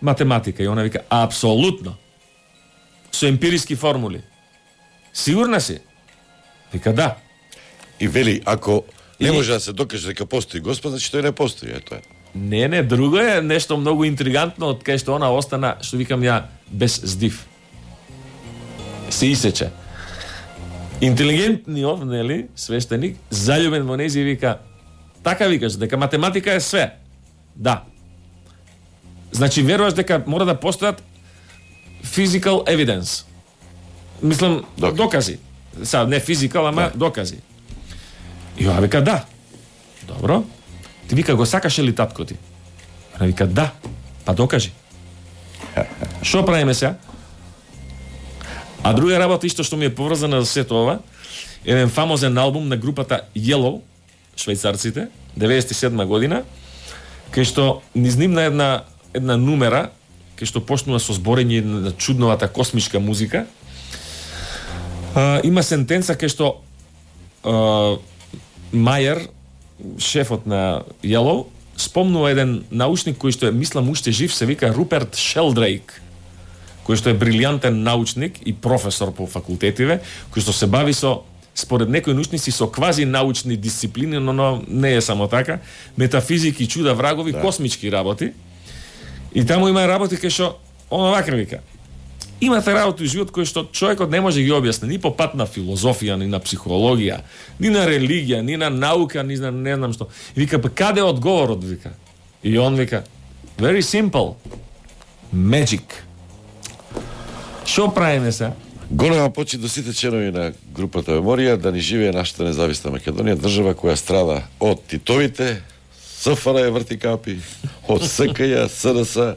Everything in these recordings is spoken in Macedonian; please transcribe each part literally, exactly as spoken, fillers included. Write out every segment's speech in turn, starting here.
математика? И она вика, апсолутно. Со емпириски формули. Сигурна си? Вика, да. И вели, ако не И- може да се докаже дека постои Господ, значи тој не постои, ето е. Не, не, друго е нешто многу интригантно од кај што она остана, што викам ја, без здив. Се исече. Интелигентниот, нели, свештеник, заљубен во нејзи вика, така викаш, дека математика е све. Да. Значи, веруваш дека мора да постојат physical evidence. Мислам, Докази. докази. Са, не физикал, ама Да. докази. И ја вика, да. Добро. Ти вика, го сакаше ли татко ти? Она вика, да. Па докажи. Шо правиме сега? А друга работа исто што ми е поврзана за сето ова, еден фамозен албум на групата Yellow, швајцарците, деветдесет и седма година, кај што низ нивна една една нумера, кај што почнува со зборење на чудновата космичка музика. А, има сентенца кај што а, Мајер, шефот на Yellow, спомнува еден научник кој што е, мислам, уште жив, се вика Руперт Шелдрейк, кој што е брилјантен научник и професор по факултетиве, кој што се бави со, според некои научници, со квази научни дисциплини, но, но не е само така, метафизики, чуда, врагови, да. Космички работи. И таму има работи кај што, оно вака вика, имате работи во живот кои што човекот не може ги објасни ни по пат на филозофија, ни на психологија, ни на религија, ни на наука, ни на не знам што. И вика, па каде е одговорот, вика? И он вика, very simple, magic. Шо правиме се? Голема почит до сите членови на групата Меморија да ни живее нашата независна Македонија, држава која страда од Титовите, СФР врти капи, од СКЈ, СДС,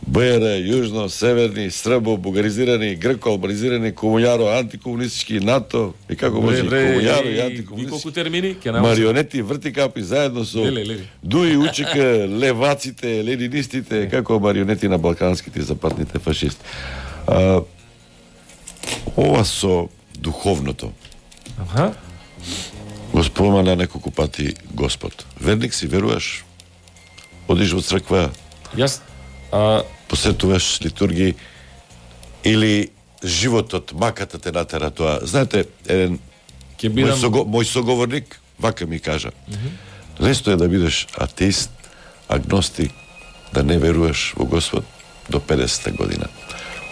БР, јужно, северни, србо, бугаризирани, грко, албанизирани, комуњаро, антикомунистички, НАТО, и како може и комуњаро и антикомунистички. Колку антикомунистички. термини? Марионети, врти капи, заедно со Леле, леле. Дуи УЧК, леваците, ленинистите, како марионети на балканските и западните фашисти. А, ова со духовното. Аха. Го спомена неколку пати Господ. Верник си, веруваш? Одиш во црква, Јас а, посетуваш литургии или животот, маката те натера тоа. Знаете, еден ќе мој, бидам сого, мој соговорник вака ми кажа. Лесно е да бидеш атеист, агностик, да не веруваш во Господ до педесета година.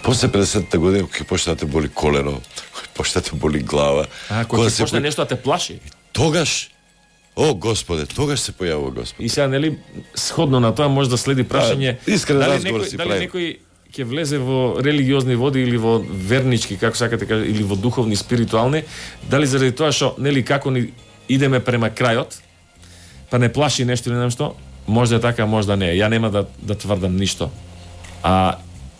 После педесетата година, кога почне да те боли колено, кога почне да те боли глава, А, кога ќе почне нешто да те плаши. тогаш, о Господе, тогаш се појавува Господ. И сега, нели, сходно на тоа може да следи прашање, Да, искрен дали разговор некој, си дали правим. некој ќе влезе во религиозни води или во вернички, како сакате кажа, или во духовни, спиритуални, дали заради тоа што, нели, како ни идеме према крајот, па не плаши нешто или нешто, може да е така, може да не е. Ја нема да, да тврдам ништо. А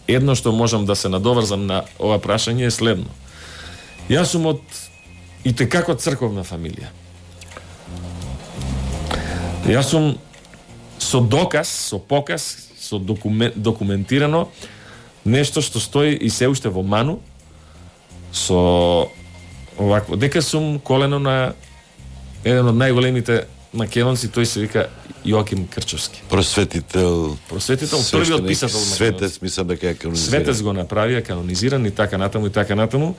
едно што можам да се надоврзам на ова прашање е следно. Јас сум од и текако црковна фамилија. Јас сум со доказ, со показ, со документ, документирано нешто што стои и се уште во Ману со овакво. Дека сум колено на еден од најголемите македонци, тој се вика Јоаким Крчовски. Просветител, Просветител, првиот свештеник, писател на светец, мислам дека е канонизиран. Светец го направија, канонизиран и така натаму и така натаму.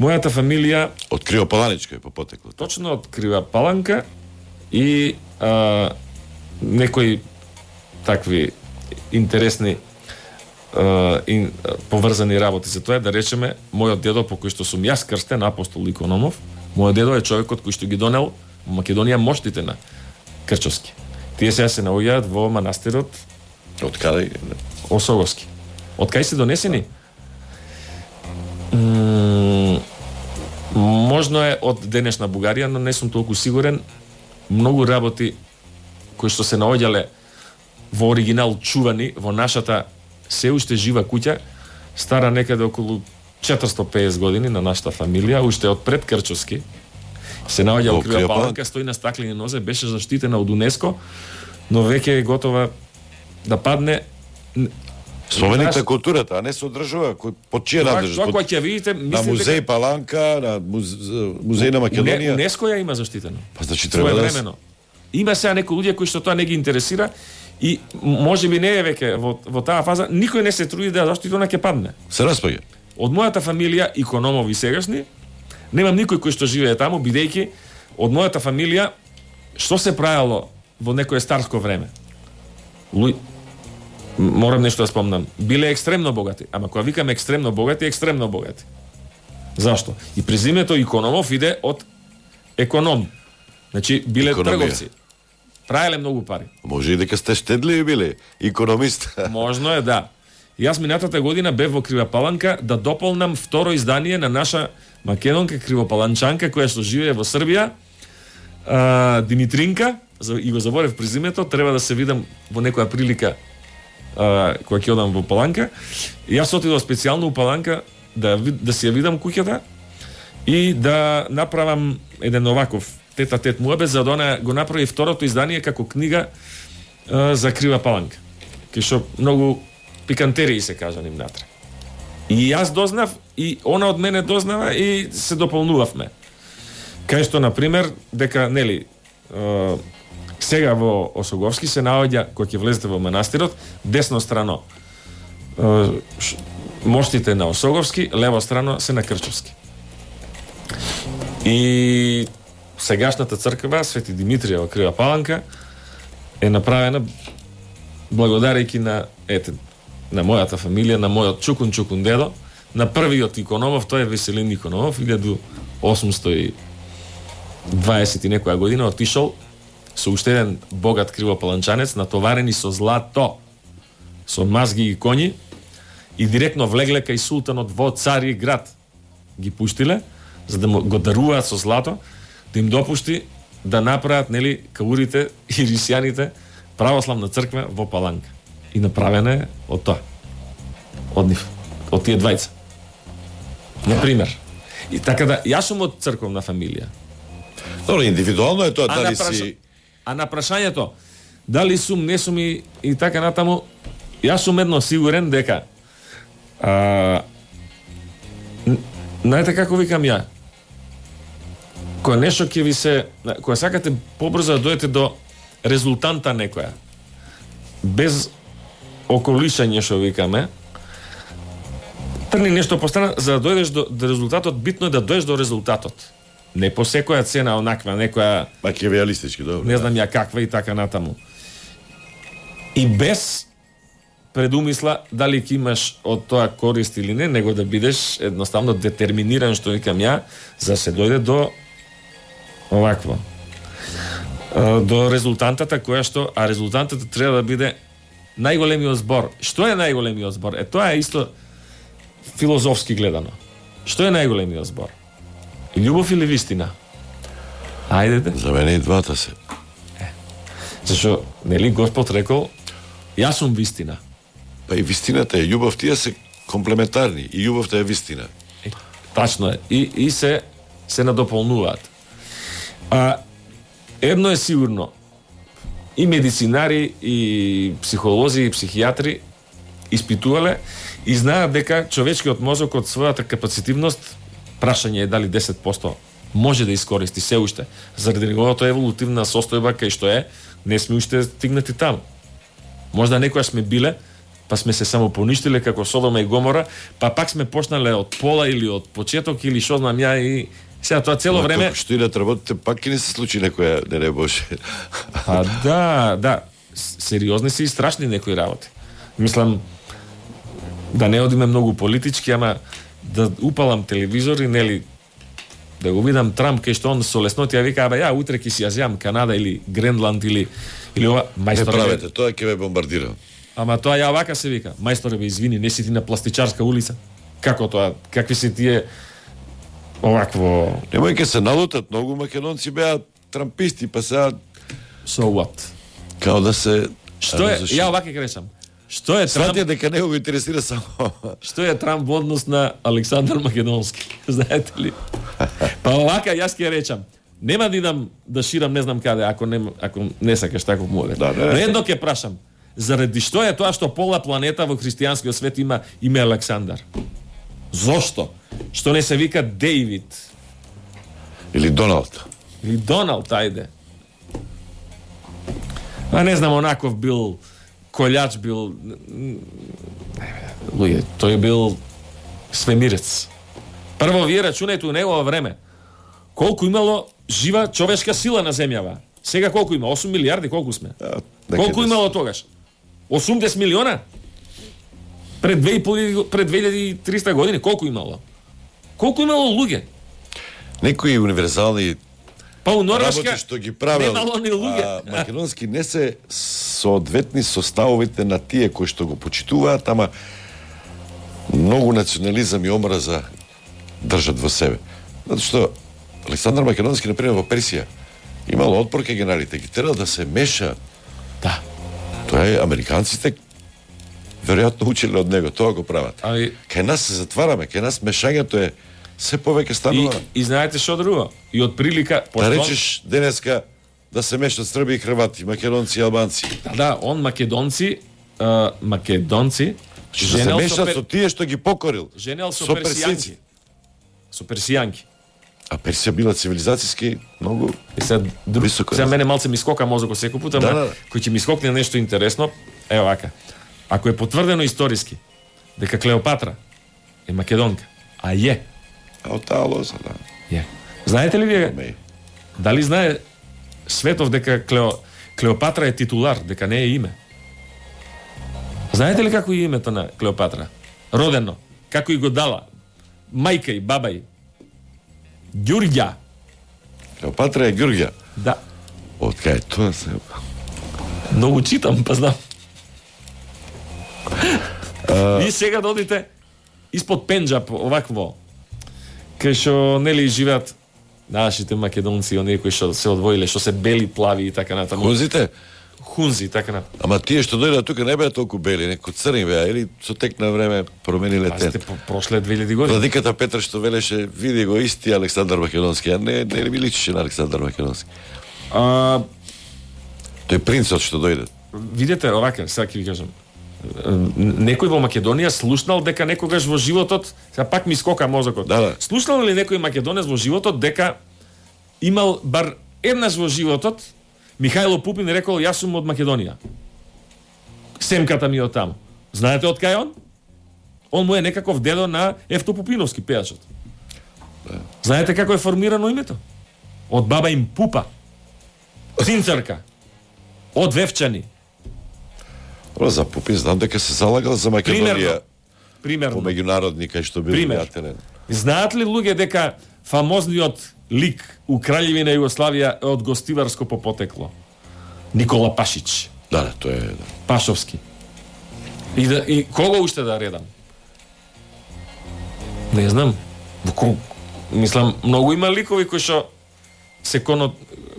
Мојата фамилија Од Кривопаланичка е по потекло. точно од Крива Паланка и а, некои такви интересни а, ин, а, поврзани работи за тоа, да речеме, мојот дедо по кој што сум јас крстен, апостол Икономов, мојот дедо е човекот кој што ги донел во Македонија моштите на Крчовски. Тие сега се наоѓаат во манастирот Од каде? Осоговски. Од кај се донесени? М, можно е од денешна Бугарија, но не сум толку сигурен. Многу работи кои што се наоѓале во оригинал чувани во нашата се уште жива куќа, стара некаде околу четиристотини и педесет години на нашата фамилија, уште од пред Крчовски. Се наоѓа во Крива Паланка, стои на стаклени нозе, беше заштитена од УНЕСКО, но веќе е готова да падне. Споменик на културата, а не се одржува кој под чија Тоа надлежност? тоа Под- кога ќе видите, На мислите музеј Паланка, на муз... музеј на Македонија. УНЕСКО ја има заштитено. Па значи треба да Своевремено. Има сега некои луѓе кои што тоа не ги интересира И може би не е веќе во, во таа фаза, никој не се труди да заштити она ќе падне. Се распаѓа. Од мојата фамилија, икономови сегашни, немам никој кој што живее таму, бидејќи од мојата фамилија што се правело во некое старско време. Луј... Морам нешто да спомнам. Биле екстремно богати, ама кога викаме екстремно богати, екстремно богати. Зашто? И презимето Икономов иде од економ. Значи, биле Економија. трговци. Правеле многу пари. Може и дека сте штедливи биле, икономист. Можно е, да. И јас минатата година бев во Кривопаланка да дополнам второ издание на наша македонка кривопаланчанка која што живее во Србија, а, Димитринка, и го заборев презимето, треба да се видам во некоја прилика а, кога ќе одам во Паланка. И јас отидов специјално у Паланка да да си ја видам куќата и да направам еден оваков тета-тет муабет, за да она го направи второто издание како книга а, за Крива Паланка. Кај што многу пикантерии се кажа ним натре. И јас дознав, и она од мене дознава, и се дополнувавме. Кај што, например, дека, нели, е, сега во Осоговски се наоѓа, кога ќе влезете во манастирот, десно страно е, ш, моштите на Осоговски, лево страно се на Крчовски. И сегашната црква, Свети Димитрија во Крива Паланка, е направена благодарејќи на, ете, на мојата фамилија, на мојот чукун чукун дедо, на првиот Икономов, тој е Веселин Икономов, илјаду осумсто и дваесет и некоја година отишол со уште еден богат кривопаланчанец, натоварени со злато, со мазги и коњи, и директно влегле кај султанот во Цари град. Ги пуштиле, за да го даруваат со злато, да им допушти да направат, нели, каурите и рисјаните православна црква во Паланка. И направена е од тоа. Од нив. Од тие двајца. Например. И така да, јас сум од црковна фамилија. Добро, индивидуално е тоа, А дали на праша... си... А на прашањето, дали сум, не сум и, и така натаму, јас сум едно сигурен дека а, знаете како викам ја, кога нешто ќе ви се, кога сакате побрзо да дојдете до резултанта некоја, без околишање што викаме, трни нешто по страна, за да дојдеш до, до резултатот, битно е да дојдеш до резултатот. Не по секоја цена онаква, некоја Макиавелистички, добро. не знам ја каква и така натаму. И без предумисла дали ќе имаш од тоа корист или не, него да бидеш едноставно детерминиран, што викам ја, за се дојде до овакво. До резултантата која што, а резултантата треба да биде најголемиот збор. Што е најголемиот збор? Е, тоа е исто филозофски гледано. Што е најголемиот збор? Љубов или вистина? Ајдете. За мене и двата се. Зашо, нели Господ рекол, јас сум вистина. Па и вистината е љубов, тие се комплементарни. И љубовта е вистина. Е, тачно е. И, и се се надополнуваат. А едно е сигурно. И медицинари, и психолози, и психијатри испитувале и знаат дека човечкиот мозок од својата капацитивност, прашање е дали десет проценти може да искористи се уште. Заради неговото еволутивна состојба кај што е, не сме уште стигнати таму. Можда некоја сме биле, па сме се само поништиле како Содома и Гомора, па пак сме почнале од пола или од почеток или што знам ја, и сега тоа цело време... Што и да работите, пак и не се случи некоја, не не Боже. Па да, да, сериозни се и страшни некои работи. Мислам, да не одиме многу политички, ама да упалам телевизор и, нели, да го видам Трамп кај што он со леснотија вика, абе ја утре ќе си јазјам Канада или Гренланд или или ова, мајсторе. Не правете, тоа ќе ве бомбардира. Ама тоа ја вака се вика, мајсторе, бе извини, не си ти на пластичарска улица. Како тоа? Какви се тие овакво... Немој ке се налутат, многу македонци беа трамписти, па сега So what? као да се... Што е, ја овака ќе речам. Што е Трамп? Сватија дека него го интересира само... Што е Трамп во однос на Александар Македонски? Знаете ли? Па овака јас ќе речам. Нема да идам да ширам не знам каде, ако не, ако не сакаш таков мовет. Да, да. Но едно ќе прашам. Заради што е тоа што пола планета во христијанскиот свет има име Александар? Зошто? Што не се вика Дејвид? Или Доналд. Или Доналд, ајде. А не знам, онаков бил колјач бил, луѓе, тој бил свемирец. Прво вие рачунајте у негово време колку имало жива човешка сила на земјава. Сега колку има? осум милиарди, колку сме? Да, колку имало тогаш? осумдесет милиона? Пред две и пол пред две илјади и триста години колку имало? Колку имало луѓе? Некои универзални Па у Норвешка работи што ги правел, немало ни луѓе. а македонски не се соодветни со ставовите на тие кои што го почитуваат, ама многу национализам и омраза држат во себе. Затоа што Александар Македонски, например, во Персија имал отпор кај генералите, ги терал да се меша. Да. Тоа е, американците веројатно учеле од него, тоа го прават. Али Кај нас се затвараме, кај нас мешањето е се повеќе и, станува. и знаете што друго? И од прилика Да речеш денеска да се мешат Срби и Хрвати, македонци и албанци. Да, да, он македонци, а, македонци Што се женел со, мешат пер... со тие што ги покорил. женел со, со персијанки. Со персијанки. А Персија била цивилизацијски многу. И сега, друг, Високо сега развит. мене малце ми скока мозокот секој пат, ама Да, да, да. кој ќе ми скокне нешто интересно, ево вака. Ако е потврдено историски дека Клеопатра е македонка, а е, А од таа лоза, да. е. Знаете ли вие, Меј. дали знае светов дека Клео, Клеопатра е титулар, дека не е име? Знаете ли како е името на Клеопатра? Родено, како и го дала мајка и баба и Ѓурѓа. Клеопатра е Ѓурѓа. Да. Од кај тоа се... Многу читам, па знам. И сега додите испод Пенџаб, овакво, кај што нели живеат нашите македонци, оние кои што се одвоиле, што се бели, плави и така натаму. Хунзите? Хунзи и така натаму. Ама тие што дојдат тука не беа толку бели, неко црни беа, или со тек на време промениле Пазите, тет. по прошле две илјади години. Владиката Петар што велеше, види го исти Александар Македонски, а не, не ми личеше на Александар Македонски. А, Тој принцот што дојде. видете, овака, сега ќе ви кажам. Некој во Македонија слушнал дека некогаш во животот, сега пак ми скока мозокот. Да, да. Слушнал ли некој македонец во животот дека имал бар еднаш во животот Михајло Пупин рекол јас сум од Македонија. Семката ми е од таму. Знаете од кај он? Он му е некаков дедо на Евто Пупиновски, пејачот. Да. Знаете како е формирано името? Од баба им Пупа. Цинцарка. Од Вевчани. Ро, за Пупин знам дека се залагал за Македонија Примерно. по Примерно. меѓународни кај што бил Пример. пријателен. Знаат ли луѓе дека фамозниот лик у Краљевина Југославија е од гостиварско по потекло? Никола Пашич, Да, да, тоа е, да. Пашовски. И, да, и кого уште да редам? Не знам. Во ко... Мислам, многу има ликови кои што се коно...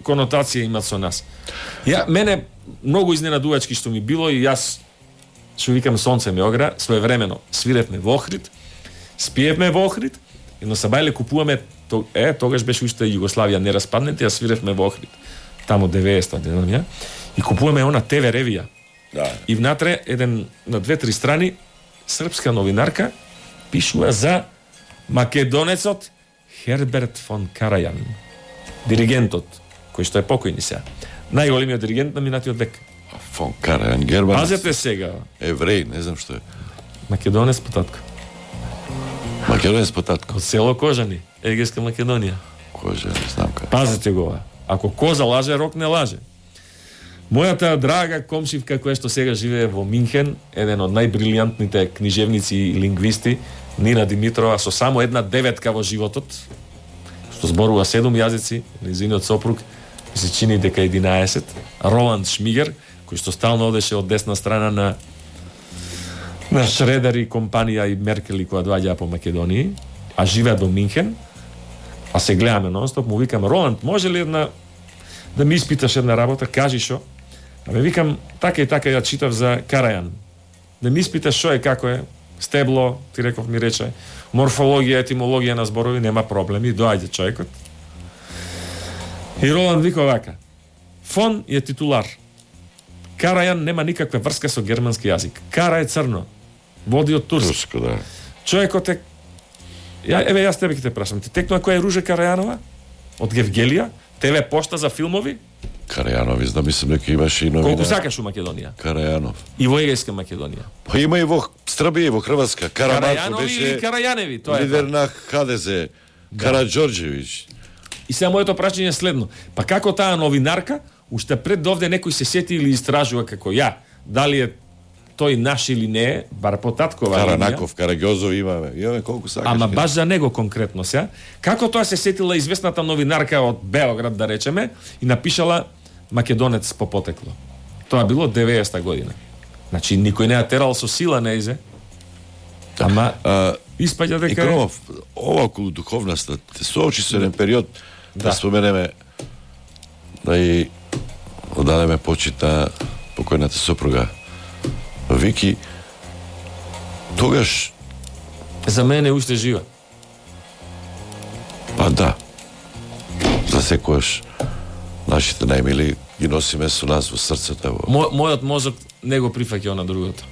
конотација имат со нас. Ја, мене многу изненадувачки што ми било и јас што викам сонце ме огра, своевремено свиревме во Охрид, спиевме во Охрид, и на Сабајле купуваме, то, е, тогаш беше уште Југославија не распаднете, а свиревме во Охрид. Тамо деветдесета, не знам ја, и купуваме она ТВ ревија. Да. И внатре еден на две-три страни српска новинарка пишува за македонецот Херберт фон Карајан, диригентот кој што е покојни сега. Најголемиот диригент на минатиот век. Фон Карајан, германец. Пазете сега, Евреј, не знам што е. македонец потатко. Македонец потатко. Од село Кожани, Егејска Македонија. Кожа, не знам кај. Пазете го ова. Ако коза лаже, рок не лаже. Мојата драга комшивка која што сега живее во Минхен, еден од најбрилијантните книжевници и лингвисти, Нина Димитрова, со само една деветка во животот, што зборува седум јазици, незиниот сопруг се чини дека единаесет, Роланд Шмигер, кој што стално одеше од десна страна на на Шредер и компанија и Меркел и која доаѓаа по Македонија, а живеат во Минхен, а се гледаме нонстоп, му викам, Роланд, може ли една да ми испиташ една работа, кажи шо? А ме викам, така и така ја читав за Карајан. Да ми испиташ шо е, како е, стебло, ти реков ми рече, морфологија, етимологија на зборови, нема проблеми, доаѓа човекот. И Роланд вика вака, фон е титулар. Карајан нема никаква врска со германски јазик. Кара е црно. Води од турски. Турско, да. Човекот е... Ја, еве, јас тебе ќе те прашам. Ти текнува која е Ружа Карајанова? Од Гевгелија? ТВ пошта за филмови? Карајанови, знам, мислам дека имаше и новина. Колку сакаш у Македонија? Карајанов. И во Егејска Македонија. Па има и во Србија, и во Хрватска. Карамарко Карајанови беше или Карајаневи, тоа е. лидер тоа. на ХДЗ. Караđорđević. И сега моето прашање е следно. Па како таа новинарка, уште пред овде некој се сети или истражува како ја, дали е тој наш или не е, бар по таткова линија. Каранаков, Караѓозов имаме. Имаме колку сакаш. Ама баш за него конкретно сега. Како тоа се сетила известната новинарка од Београд, да речеме, и напишала Македонец по потекло. Тоа било деветдесета година. Значи никој не ја терал со сила неизе. Ама А, испаѓа дека И Кромов, ова околу духовноста, те соочи со еден период, да, да споменеме, да и одадеме почит на покојната сопруга Вики, тогаш, за мене е уште жива. па да, за секојаш нашите најмили ги носиме со нас во срцето. Мо, мојот мозок не го прифаќа на другото.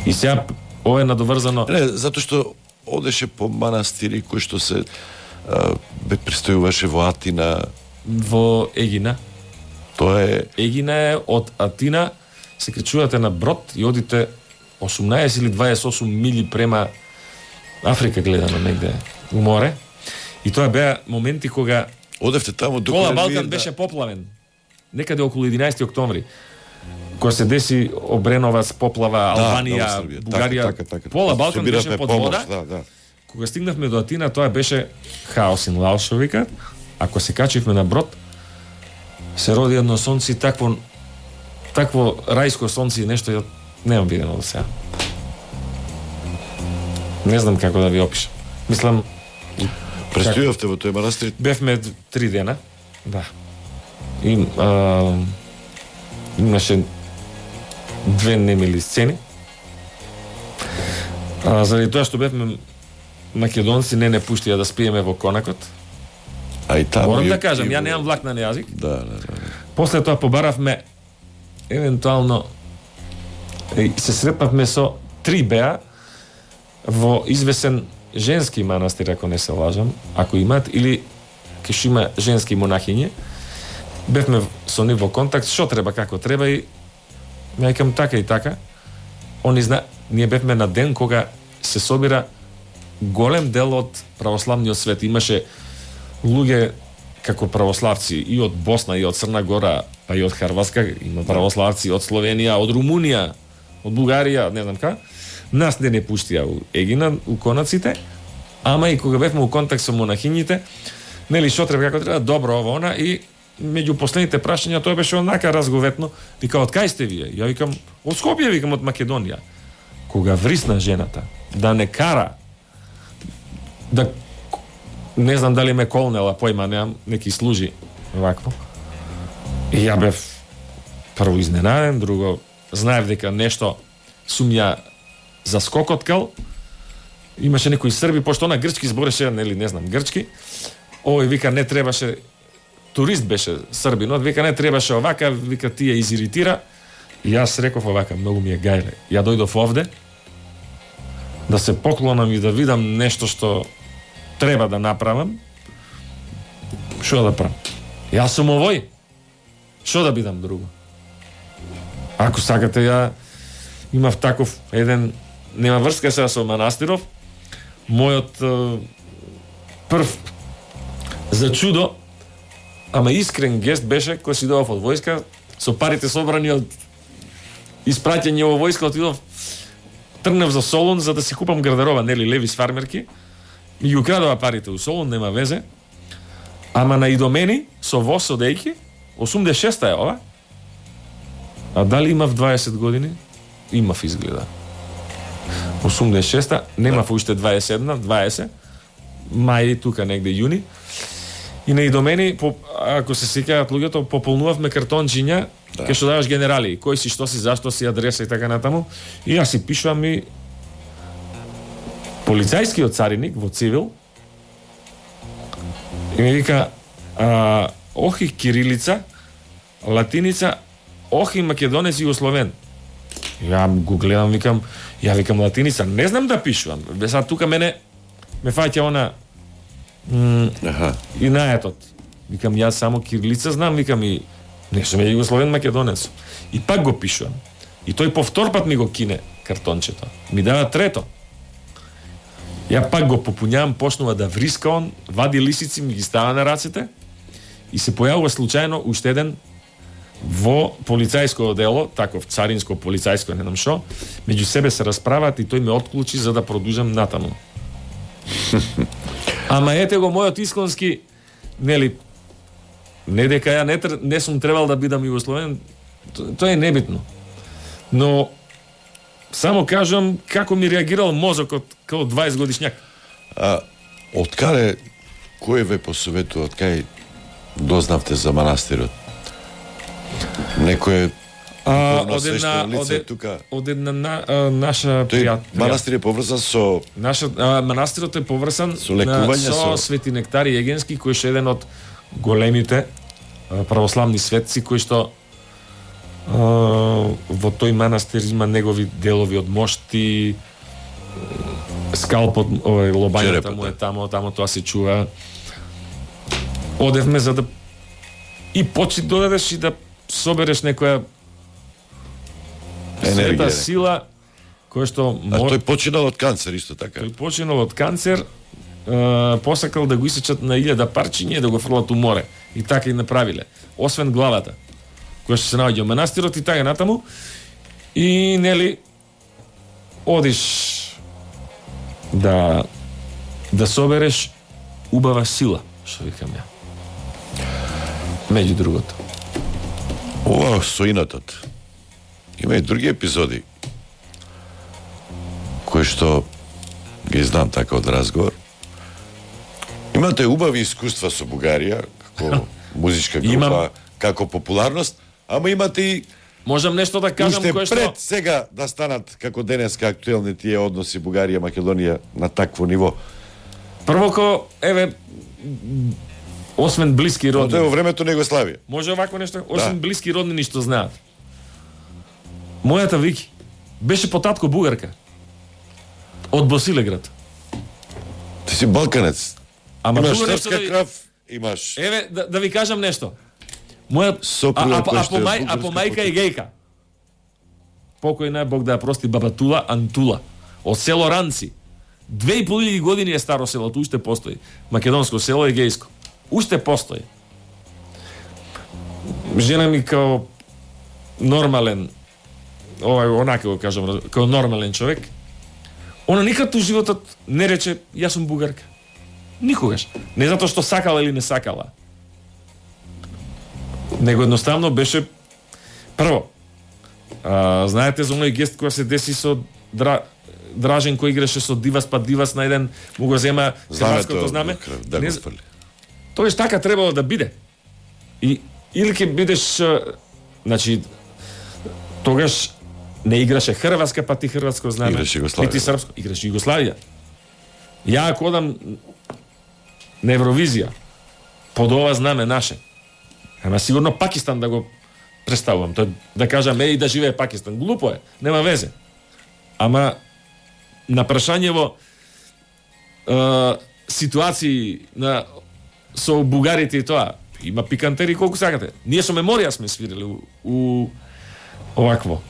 И сега ова е надоврзано. Не, затоа што одеше по манастири кои што се а, бе престојуваше во Атина. Во Егина. Тоа е Егина е од Атина, се кречувате на брод и одите осумнаесет или дваесет и осум мили према Африка гледано негде у море. И тоа беа моменти кога одевте таму доколе Пола Балкан да... беше поплавен. Некаде околу единаесети октомври. Кога се деси Обреновац, поплава, Албанија, да, Бугарија, така, така, така. Пола Балкан беше под помош, вода. Да, да. Кога стигнавме до Атина, тоа беше хаос ин лаос, што викаат. Ако се качивме на брод, се роди едно сонце, такво такво рајско сонце и нешто немам видено до сега. Не знам како да ви опишам. Мислам, Престојавте во тој манастир? бевме три дена. Да. И а, имаше две немили сцени. А, заради тоа што бевме македонци, не не пуштија да спиеме во конакот. А и таму Морам и- да кажам, и ја во- немам влак на јазик. Да, да, да. После тоа побаравме евентуално и се сретнавме со три беа во извесен женски манастир, ако не се лажам, ако имаат, или ке што има женски монахиње. Бевме со нив во контакт, што треба, како треба, и ја викам така и така. Они зна, ние бевме на ден кога се собира голем дел од православниот свет. Имаше луѓе како православци и од Босна, и од Црна Гора, па и од Хрватска, има православци од Словенија, од Румунија, од Бугарија, не знам ка. Нас не не пуштија у Егина, у конаците, ама и кога бевме у контакт со монахињите, нели што треба, како треба, добро ово она, и меѓу последните прашања тоа беше онака разговетно. Вика, од кај сте вие? Ја викам, од Скопје, викам, од Македонија. Кога врисна жената да не кара, да не знам дали ме колнела, појма немам, неки служи вакво. И ја бев прво изненаден, друго знаев дека нешто сум ја заскокоткал. Имаше некои срби, пошто на грчки збореше, нели не знам грчки. Овој вика не требаше, турист беше србинот, вика не требаше овака, вика ти ја изиритира. И јас реков овака, многу ми е гајле. Ја дојдов овде да се поклонам и да видам нешто што треба да направам. Што да правам? Јас сум овој. Што да бидам друго? Ако сакате, ја имав таков еден, нема врска сега со манастиров. Мојот е, прв за чудо, ама искрен гест беше кој си дојдов од војска со парите собрани од испраќање во војска, отидов, тргнав за Солун за да си купам гардероба, нели Левис фармерки. Ми ги украдува парите у Солун, нема везе. Ама на идомени со воз одејки, осумдесет и шеста е ова. А дали имав дваесет години? Имав изгледа. осумдесет и шеста, немав уште дваесет и едно, дваесет. Мај тука негде јуни. И на идомени, по, ако се сеќаваат луѓето, пополнувавме картончиња, да, кај што даваш генерали, кој си, што си, зашто си, адреса и така натаму. И јас си пишувам и полицајскиот цариник во цивил и ми вика а, охи кирилица, латиница, охи македонец и условен. Ја го гледам, викам, ја викам латиница, не знам да пишувам. Бе сад тука мене ме фаќа она м, Аха. и наетот. Викам, јас само кирилица знам, викам, и не сум ја југословен македонец. И пак го пишувам. И тој повтор пат ми го кине картончето. Ми дава трето. Ја пак го попуњавам, почнува да вриска он, вади лисици, ми ги става на рацете и се појавува случајно уште еден во полицајско дело, таков царинско, полицајско, не знам шо, меѓу себе се расправат и тој ме отклучи за да продужам натаму. Ама ете го мојот исконски, нели, не дека ја не, не сум требал да бидам југословен, тоа е небитно. Но само кажам како ми реагирал мозокот како дваесет годишњак. А од каде, кој ве посоветува, од кај дознавте за манастирот? Некој А, од една, лице, од, тука. од една на, а, наша пријат, манастир е поврзан со наша а, манастирот е поврзан со лекување, со, со Свети Нектари Егенски, кој е еден од големите а, православни светци кои што а, во тој манастир има негови делови од мошти, скалпот, овој лобањата му е тамо, тамо тоа се чува. Одевме за да и почи додадеш и да собереш некоја света сила која што а тој починал од канцер исто така. Тој починал од канцер, е, посакал да го исечат на илјада парчиња и да го фрлат у море. И така и направиле. Освен главата, која што се наоѓа во манастирот и така натаму. И нели одиш да да собереш убава сила, што викам ја. Меѓу другото. Ова со инатот. Има и други епизоди кои што ги знам така од разговор. Имате убави искуства со Бугарија, како музичка група, Имам... како популарност, ама имате и можам нешто да кажам уште кое што пред сега да станат како денеска актуелни тие односи Бугарија Македонија на такво ниво. Прво ко еве освен блиски роднини. Тоа е во времето на Југославија. Може овако нешто, освен Да. блиски роднини што знаат. Мојата Вики беше по татко бугарка. Од Босилеград. Ти си балканец. Ама имаш друго нешто српска да ви- крав, имаш Еве да, да ви кажам нешто. Моја Сопруга а, а, која а, што по е мај, а бугарска по мајка е потек. гејка. Покојна е, Бог да ја прости, баба Тула Антула од село Ранци. Две и пол илјади години е старо селото, уште постои. Македонско село е гејско. Уште постои. Жена ми као нормален, ова онака го кажам, као нормален човек, она никад у животот не рече јас сум бугарка. Никогаш. Не затоа што сакала или не сакала. Него едноставно беше прво. А, знаете за оној гест кој се деси со Дра... Дражен кој играше со Дивас, па Дивас на еден му го зема хрватското знаме. Да Не го з- фрли. Тоеш така требало да биде. И или ќе бидеш, а, значи тогаш не играше хрватска, па ти хрватско знаме. Играше Југославија. Ти, ти српско, играше Југославија. Ја ако одам на Евровизија под ова знаме наше, ама сигурно Пакистан да го представувам, тој да кажам еј да живее Пакистан, глупо е, нема везе. Ама на прашањево е, ситуации на со бугарите и тоа, има пикантери колку сакате. Ние со Меморија сме свирили у, у овакво,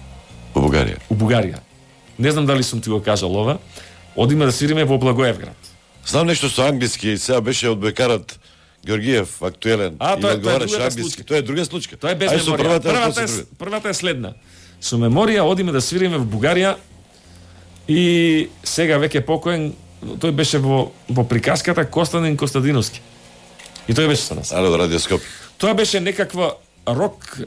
Во Бугарија. у Бугарија. Не знам дали сум ти го кажал ова. Одиме да свириме во Благоевград. Знам нешто со англиски, сега беше од бекарот Георгиев актуелен. А, и тоа е- тоа е одговараше другата англиски. случка. Тоа е друга случка. Тоа е без Ај со Меморија. првата, Првата, после е, друга. првата е следна. Со Меморија одиме да свириме во Бугарија и сега веќе покоен, тој беше во, во приказката Костадин Костадиновски. И тој беше со нас. Ало, од Радиоскоп. Тоа беше некаква рок е,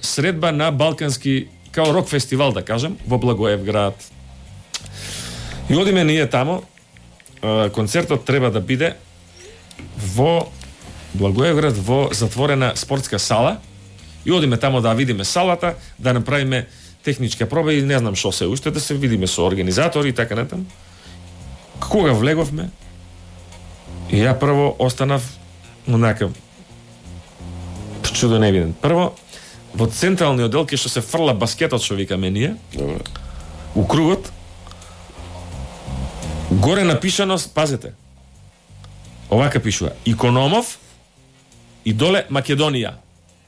средба на балкански, као рок фестивал да кажем, во Благоевград. И одиме ние тамо, е, концертот треба да биде во Благоевград во затворена спортска сала и одиме тамо да видиме салата, да направиме техничка проба и не знам што се уште, да се видиме со организатори и така натаму. Кога влеговме, и ја прво останав онака чудо невиден. Прво, во централниот дел кај што се фрла баскетот, што викаме ние, Добро. у кругот, горе напишано, пазете, овака пишува, Икономов, и доле Македонија.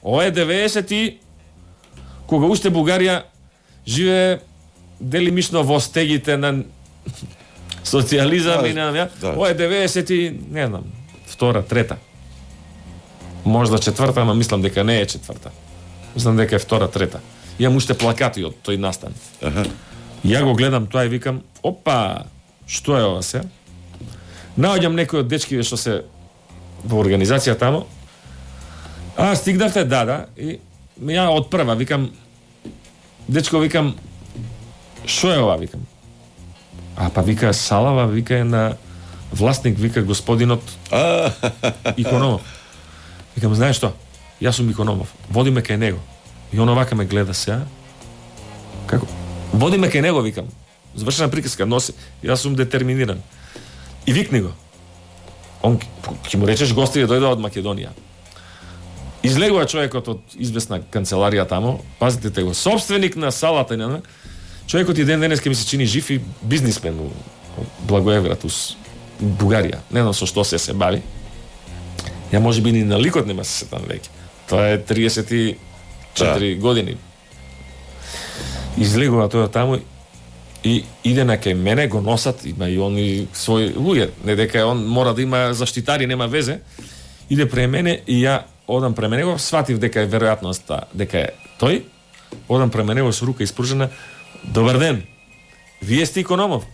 Ова е деветдесети, кога уште Бугарија живее делимично во стегите на социјализам да, и на ја. Да. Ова е деветдесети, не знам, втора, трета. Можда четврта, ама мислам дека не е четврта. Мислам дека е втора, трета. Имам уште плакати од тој настан. Аха. Ја го гледам тоа и викам, опа, што е ова се? Наоѓам некој од дечкиве што се во организација тамо. А, стигнавте, да, да. И ја од прва викам, дечко, викам, што е ова, викам? А, па вика, салава, вика е на власник, вика господинот Икономов. Викам, знаеш што? Јас сум Икономов. Водиме кај него. И он овака ме гледа сега. Како? Водиме кај него, викам. Завршена приказка, носи. Јас сум детерминиран. И викни го. Он ќе му речеш гости да дојдоа од Македонија. Излегува човекот од известна канцеларија тамо, пазите го, собственик на салата и на човекот и ден денеска ми се чини жив и бизнисмен у Благоевград, у Бугарија. Не знам со што се се бави. Ја може би ни на ликот нема се сетам веќе. Тоа е триесет и четири да. години. Излегува тоа таму и иде на кај мене, го носат, има и они своји луѓе, не дека он мора да има заштитари, нема везе. Иде пре мене и ја одам пре мене, го сватив дека е веројатноста дека е тој. Одам пре мене со рука испружена. Добар ден. Вие сте Икономов?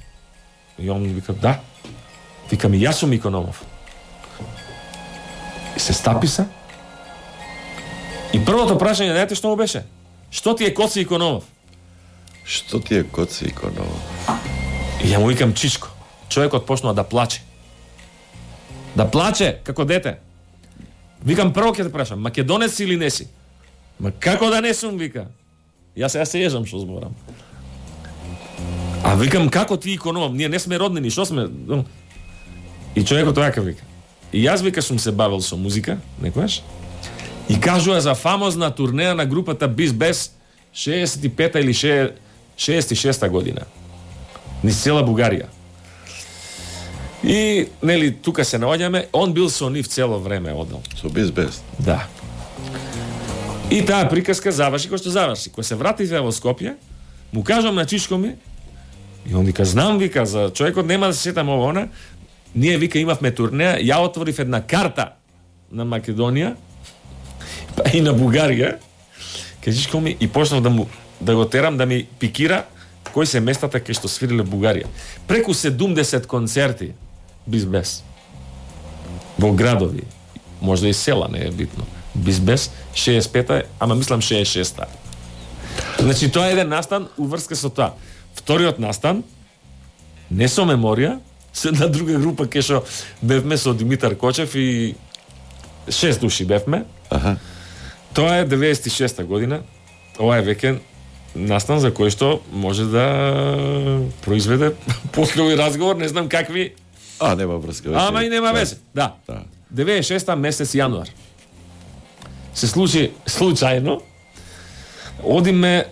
И он ми вика, да. Викам, и јас сум Икономов. И се стаписа. И првото прашање, знаете што му беше? Што ти е Коци Икономов? Што ти е Коци Икономов? И ја му викам Чичко. Човекот почнува да плаче. Да плаче, како дете. Викам, прво ќе те прашам, македонец си или не си? Ма како да не сум, вика. Јас сега се ежам што зборам. А викам, како ти Икономов? Ние не сме роднини, што сме? И човекот така вика. И јас, вика, сум се бавил со музика, некојаш. И кажува за фамозна турнеја на групата Биз Бес шеесет и пета или шеесет и шеста година. Низ цела Бугарија. И, нели, тука се наоѓаме, он бил со нив цело време одел. Со Биз Бес? Да. И таа приказка заврши кој што заврши. Кога се вративме во Скопје, му кажам на Чичко ми, и он вика, знам, вика, за човекот нема да се сетам ово она, ние, вика, имавме турнеја, ја отворив една карта на Македонија, па и на Бугарија, кажичко ми, и почнав да му да го терам да ми пикира кои се местата кај што свириле Бугарија. Преку седумдесет концерти Биз Бес. Во градови, можда и села, не е битно. Биз Бес шеесет и пета, ама мислам шеесет и шеста. Значи тоа е еден настан уврска со тоа. Вториот настан не со меморија, со една друга група кај што бевме со Димитар Кочев и шест души бевме. Аха. Тоа е деветдесет и шеста година. Ова е веќе настан за кој што може да произведе после овој разговор, не знам какви. А, нема врска. Ама и нема везе. Да. Да. деветдесет и шеста месец јануар. Се случи случајно. Одиме е,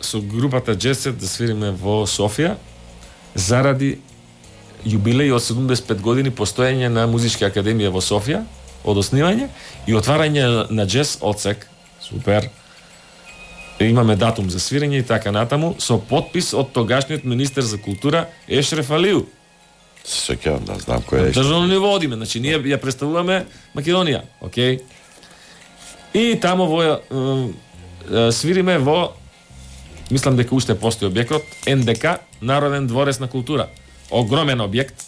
со групата Джесет да свириме во Софија заради јубилеј од седумдесет и пет години постоење на Музичка академија во Софија, од основање и отварање на джез одсек. Супер. Имаме датум за свирење и така натаму, со подпис од тогашниот министер за култура Ешреф Алиу. Се сеќавам, да знам кој е. Државно ниво одиме, значи ние ја представуваме Македонија, окей. И тамо во е, е, свириме во, мислам дека уште постои објектот, Ен Де Ка, Народен дворец на култура. Огромен објект.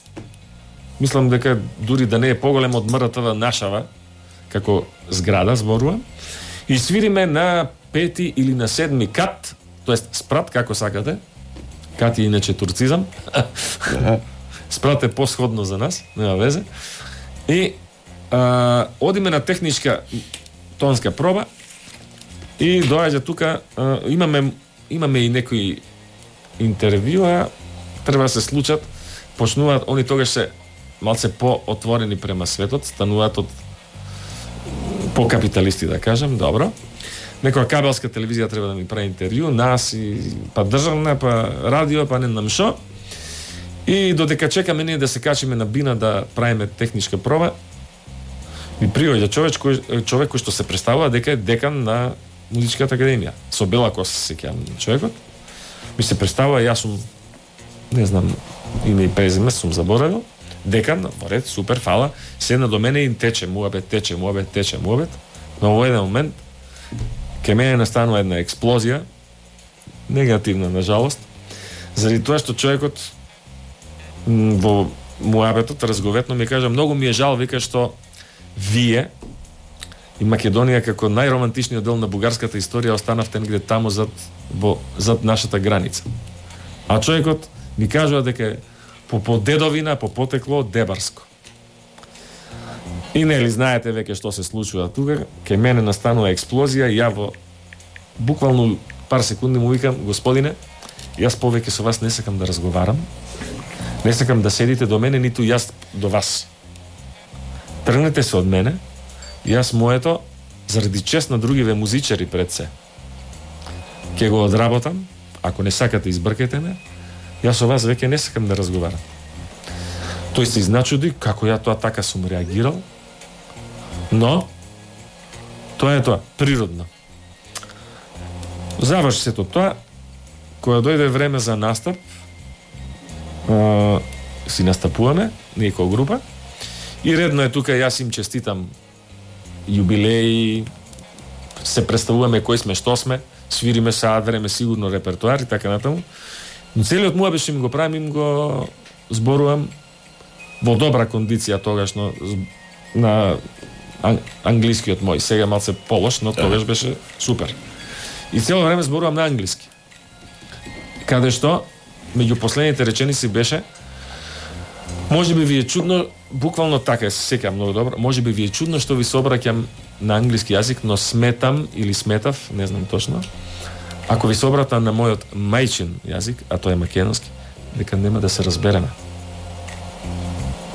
Мислам дека дури да не е поголем од М Р Т В Нашава, како зграда, зборувам. И свириме на пети или на седми кат, тоест спрат, како сакате. Кат е иначе турцизам. Спрат е посходно за нас, нема везе. И а, одиме на техничка тонска проба и доаѓа тука, а, имаме имаме и некои интервјуа, треба да се случат, почнуваат, они тогаш се малце по-отворени према светот, стануваат од по-капиталисти, да кажем, добро. Некоја кабелска телевизија треба да ми прави интервју, нас и па државна, па радио, па не знам шо. И додека чекаме ние да се качиме на бина да правиме техничка проба, ми приоѓа човек кој човек кој што се представува дека е декан на музичката академија. Со бела коса се сеќавам човекот. Ми се представува, јас сум не знам име и презиме, сум заборавил. Декан, во ред, супер, фала. Седна до мене и тече муабет, тече муабет, тече муабет. Но во еден момент ке мене настанува една експлозија, негативна, на жалост, заради тоа што човекот во муабетот разговетно ми кажа, многу ми е жал, вика, што вие и Македонија како најромантичниот дел на бугарската историја останавте негде таму зад, во, зад нашата граница. А човекот ми кажува дека по, по дедовина, по потекло дебарско. И нели знаете веќе што се случува тука, ке мене настанува експлозија и ја во буквално пар секунди му викам, господине, јас повеќе со вас не сакам да разговарам, не сакам да седите до мене, ниту јас до вас. Тргнете се од мене, јас моето, заради чест на другиве музичари пред се, ќе го одработам, ако не сакате избркете ме, јас со вас веќе не сакам да разговарам. Тој се изначуди како ја тоа така сум реагирал, но тоа е тоа, природно. Заврши сето тоа, кога дојде време за настап, а, си настапуваме, ние како група, и редно е тука, јас им честитам јубилеи, се представуваме кои сме, што сме, свириме саат време сигурно репертуар и така натаму. Но целиот муабет што им го правим, им го зборувам во добра кондиција тогаш, но на англискиот мој, сега малце полош, но тогаш беше супер. И цело време зборувам на англиски. Каде што, меѓу последните реченици беше, може би ви е чудно, буквално така, се сеќавам многу добро, може би ви е чудно што ви се обраќам на англиски јазик, но сметам или сметав, не знам точно, ако ви се обратам на мојот мајчин јазик, а тоа е македонски, дека нема да се разбереме.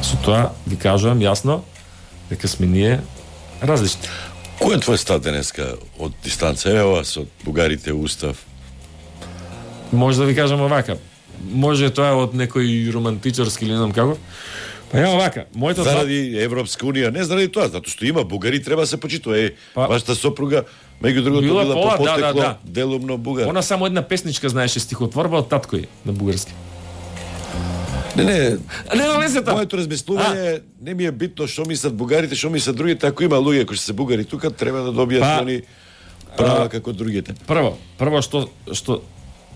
Со тоа ви кажувам јасно дека сме ние различни. Кој е твој став денеска од дистанца? Ева со бугарите устав. Може да ви кажам овака. Може тоа од некој романтичарски или не знам како. Па ја овака, моето заради Европска унија, не заради тоа, затоа што има бугари, треба се почитува. Е, па, вашата сопруга, меѓу другото, била, била по потекло, да, да, да. делумно бугар. Она само една песничка знаеше стихотворба од татко на бугарски. Не, не. Нема везе тоа. Моето размислување не ми е битно што мислат бугарите, што мислат другите, ако има луѓе кои се бугари тука, треба да добијат па, они права а, како другите. Прво, прво што што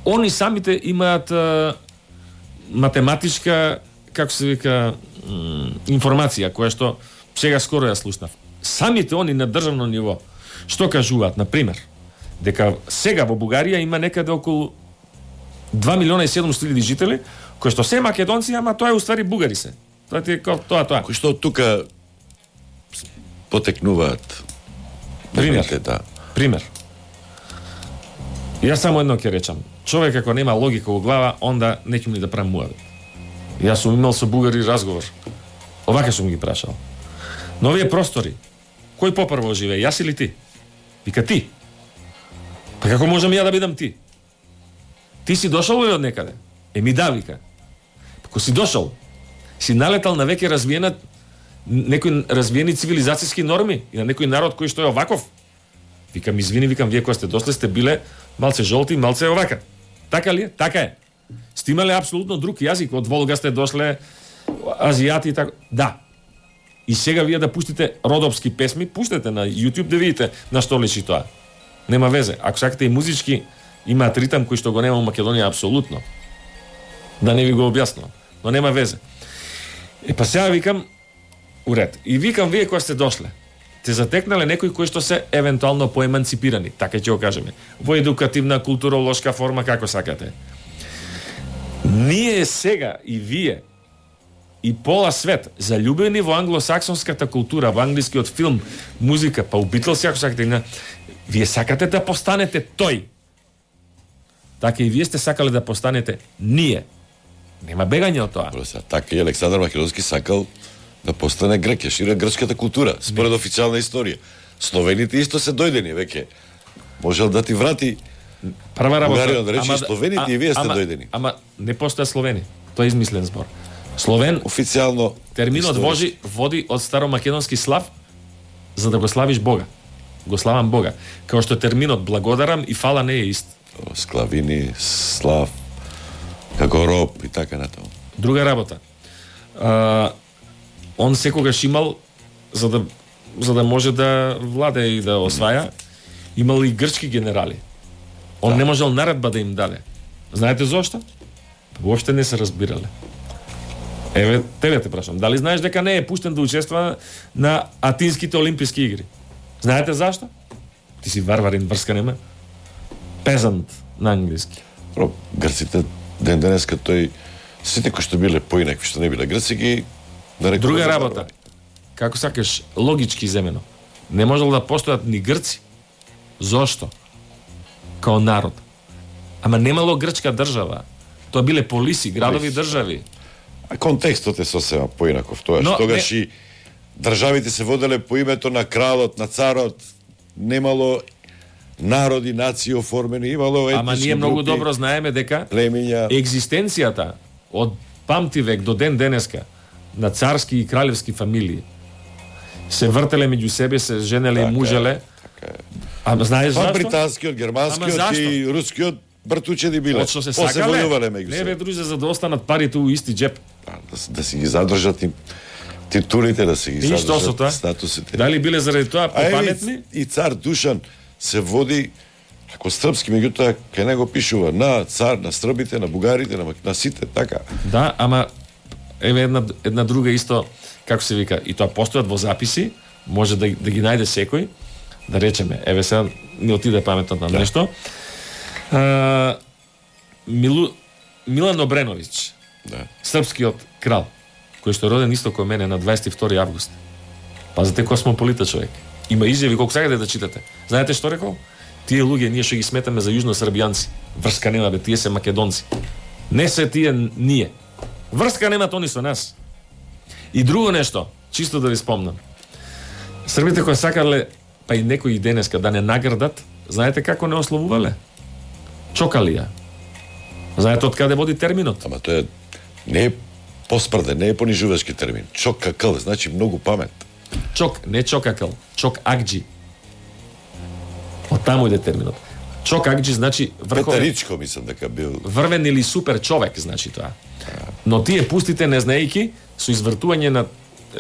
они самите имаат а, математичка, како се вика, информација која што сега скоро ја слушнав. Самите они на државно ниво што кажуваат, на пример, дека сега во Бугарија има некаде околу два милиона и седумстотини илјади жители, кои што се македонци, ама тоа е уствари бугари се. Тоа ти е тоа тоа. Кои што тука потекнуваат. Пример. Да. Пример. Јас само едно ќе речам. Човек ако нема логика во глава, онда не ќе ни да правам муабет. Јас сум имал со бугари разговор. Овака сум ги прашал. На овие простори, кој попрво живее, јас или ти? Вика ти. Па како можам ја да бидам ти? Ти си дошол од некаде? Еми да, вика. Ако си дошол, си налетал на веќе развиена некои развиени цивилизацијски норми и на некој народ кој што е оваков. Викам, извини, викам, вие кога сте дошле сте биле малце жолти, малце овака. Така ли е? Така е. Сте имале апсолутно друг јазик, од Волга сте дошле азијати и така. Да. И сега вие да пуштите родопски песми, пуштете на YouTube да видите на што личи тоа. Нема везе. Ако сакате и музички, имаат ритам кој што го нема во Македонија апсолутно. Да не ви го објаснувам. Но нема везе. Е, па сега викам, уред. И викам, вие кои сте дошле, те затекнале некои кои што се евентуално поеманципирани, така ќе го кажеме, во едукативна, културолошка форма, како сакате. Ние сега и вие и пола свет заљубени во англосаксонската култура, во англискиот филм, музика, па у Битлз, ако сакате, вие сакате да постанете тој. Така и вие сте сакале да постанете ние. Нема бегање од тоа. Така и Александар Македонски сакал да постане грек, ја шира грчката култура, според официјална историја. Словените исто се дојдени веќе. Можел да ти врати прва работа. Бугарија да рече словените а, и вие сте ама, дојдени. Ама не постоја словени. Тоа е измислен збор. Словен официјално терминот води води од старомакедонски слав за да го славиш Бога. Го славам Бога. Као што терминот благодарам и фала не е ист. Склавини, слав, како роб и така натаму. Друга работа. А, он секогаш имал за да за да може да владе и да осваја, имал и грчки генерали. Он да. Не можел наредба да им даде. Знаете зошто? Воопште не се разбирале. Еве, тебе те прашам, дали знаеш дека не е пуштен да учествува на Атинските олимписки игри? Знаете зашто? Ти си варварин, врска нема. Пезант на англиски. Про, грците ден денеска тој сите кои што биле поинакви што не биле грци ги нарекува. Друга работа. Како сакаш логички земено. Не можел да постојат ни грци. Зошто? Као народ. Ама немало грчка држава. Тоа биле полиси, градови, полиси. Држави. А контекстот е сосема поинаков. Тоа што тогаш не... и државите се воделе по името на кралот, на царот, немало народи, нации оформени, имало етнички. Ама ние многу групи, добро знаеме дека племиња, екзистенцијата од памти век до ден денеска на царски и кралевски фамилии се вртеле меѓу себе, се женеле така, и мужеле. Така. Ама знаеш зашто? Па британскиот, германскиот и рускиот бртучеди биле. Од што се сакале, не бе друже, за да останат парите у исти джеп. Да, да си ги задржат и титулите, да си ги и задржат статусите. Дали биле заради тоа попаметни? И цар Душан се води како српски, меѓутоа кај него пишува на цар, на србите, на бугарите, на, на сите, така. Да, ама еве една, една друга исто, како се вика, и тоа постојат во записи, може да, да ги најде секој, да речеме, еве сега не отиде паметот на да. Нешто. А, Милу, Милан Обреновиќ, да. Српскиот крал, кој што е роден исто кој мене на дваесет и втори август. Пазете, космополита човек. Има изјави колку сакате да читате. Знаете што рекол? Тие луѓе ние што ги сметаме за јужносрбијанци. Врска нема бе, тие се македонци. Не се тие ние. Врска немат они со нас. И друго нешто, чисто да ви спомнам. Србите кои сакале, па и некои денеска да не наградат, знаете како не ославувале? Чокалија. Знаете од каде води терминот? Ама тоа е не е поспрден, не е понижувачки термин. Чокакл значи многу памет. Чок, не чокакл, чок акџи. Од таму иде терминот. Чок акџи значи врховен. Петаричко мислам дека бил. Врвен или супер човек значи тоа. Но тие пустите не знаејќи со извртување на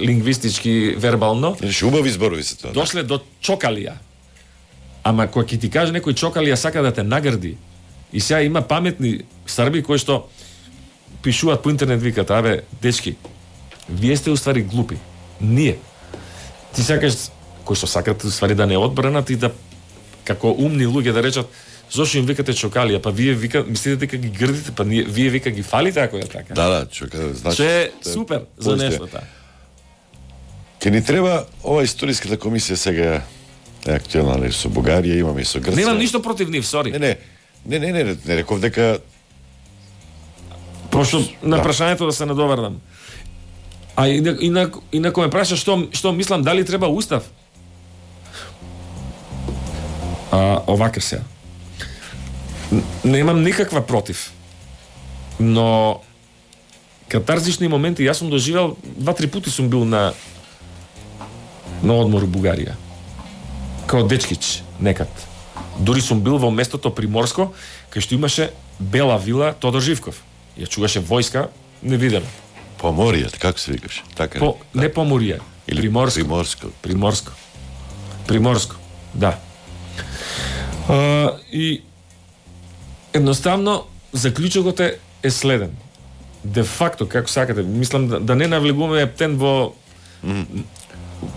лингвистички вербално. Еш убави зборови се тоа. Дошле до чокалија. Ама кога ќе ти каже некој чокалија сака да те награди. И сега има паметни срби кои што пишуваат по интернет, викат, абе, дечки, вие сте уствари глупи. Ние. Ти сакаш, кои што сакат уствари да не одбранат и да, како умни луѓе да речат, зошто им викате чокалија, па вие вика, мислите дека ги грдите, па ние, вие вика ги фалите ако е така. Да, да, чокалија, значи. Че е супер за нештото. Ке ни треба ова историската комисија сега е актуелна со Бугарија, имаме и со Грција. Немам ништо против нив, сори. Не, не. Не, не, не, не реков дека прошто на да. Прашањето да се надоврдам. А инако инако ме праша што што мислам дали треба устав. А овака се. Немам никаква против. Но катарзични моменти јас сум доживел два-три пати сум бил на на одмор у Бугарија. Као дечкич некад. Дури сум бил во местото Приморско, кај што имаше Бела вила Тодор Живков. Ја чуваше војска невидена. Поморија, како се викаше? Така по, не да. Поморија, или Приморско. Приморско. Приморско. Приморско. Да. А, и едноставно заклучокот е, е следен. Де факто, како сакате, мислам да, да не навлегуваме ептен во mm.